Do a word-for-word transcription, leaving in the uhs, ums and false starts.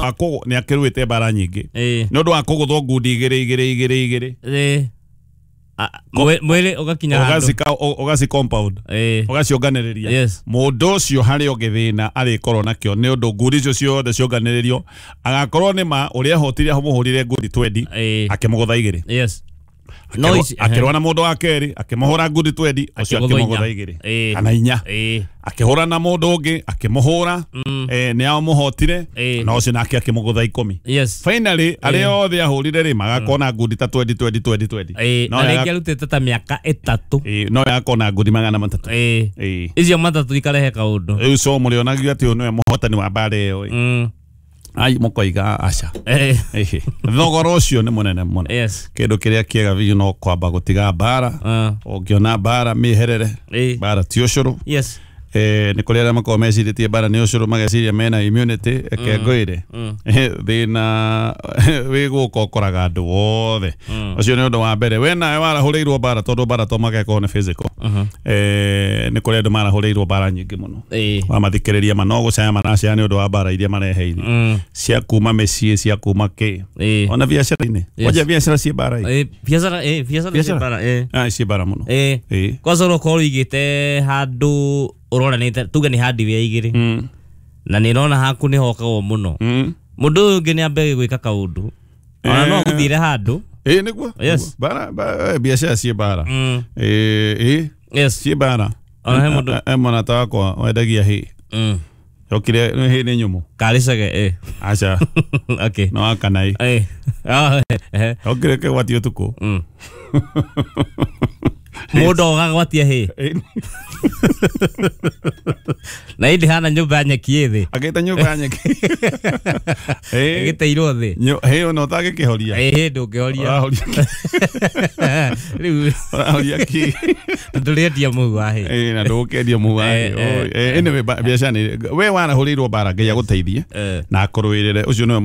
Wa nĩ akĩrũĩte mbara nyingĩ Ĩĩ. nĩ ũndũ wa kũgũthwo ngundi igĩrĩ igĩrĩ igĩrĩ igĩrĩ. Ĩĩ. Mwĩrĩ ũgakinya handũ ũgaci compound ũgacionganĩrĩria. Yes. Mũndũ ũcio harĩ o gĩthĩna arĩkorwo nakĩo nĩ ũndũ ngundi icio ciothe cionganĩrĩrio agakorwo nĩ ma ũrĩa ahotire amũhũrire ngundi twendi akĩmũgũtha igĩrĩ. Yes. No akĩrũa na mũndũ wa kerĩ akĩmũhũra ngundi twendi ũcio akĩmũgũtha igĩrĩ kana inya. Akĩhũra na mũndũ ũngĩ akĩmũhũra nĩ amũhotire na ũcio nake akĩmũgũtha ikũmi. Yes. Finally arĩa othe ahũrire rĩ magakona ngundi ta twendi twendi twendi twendi. Na rĩngĩ arutĩte ta mĩaka ĩtatũ. No yakona ngundi magana matatũ. Icio matatũ ikarehe kaũndũ. Rĩu so mũrĩonagio atĩ ũyũ nĩwe mũhotani wa mbara ĩyo. Ai mũkoiga aca. Thogora ũcio nĩ mũnene mũno. Yes. Kĩndũ kĩrĩa kĩega biũ no kwamba gũtiga mbara. Ũngĩona mbara mĩherere. Mbara ti ũcũrũ. Yes. Eh, nĩ kũrĩ arĩa makoragwo mecirĩtie mbara nĩ ũcũrũ mageciria mena immunity eke ngwĩre thĩna wĩ gũka ũkoraga andũ othe. Ũcio nĩ ũndũ wa mbere. We nawe warahũrĩirwo mbara tondũ mbara to magekwo nĩ physical. Eh, nĩ kũrĩ andũ marahũrĩirwo mbara nyingĩ mũno. Wamathikĩrĩria ma no gũcaya maracaya nĩ ũndũ wa mbara iria mareheire cia kuma mĩciĩ cia kuma kĩ ona biacara-inĩ. Kwanja biacara ciĩ mbara ĩ biacara ĩ biacara ciĩ mbara ĩ ciĩ mbara mũno. Ĩ kwanza ũrokorwo ũigĩte handũ uroranite tuge ni hardware igiri na ni rona haku ni hokagwo muno mundu uyu ungi ni ambe gwika kaundu ona no guthire handu eh niguo. Yes. Bara biacara ciĩ bara eh eh yes ciĩ bara ona he mundu e mwana wakwa wendagia hĩ yokire hĩ nĩ nyũmũ karicage eh aca okay no akanai eh ah eh yokire kegwati utuku mundu ogagwatia hĩ na indi hana nyumba nyeki ĩthĩ agĩte nyumba nyeki ĩgĩteirwo thĩ hĩ ona ũtangĩkĩhoria ĩĩ ndũngĩhoria rĩu ũrahoria kĩ na ndũrĩendia mũhu wa hĩ ĩĩ na ndũgũkĩendia mũhu wa hĩ. Anyway biacara nĩ we warahũrĩirwo mbara Ngai agũteithie na akũrũĩrĩre ũcio nĩwe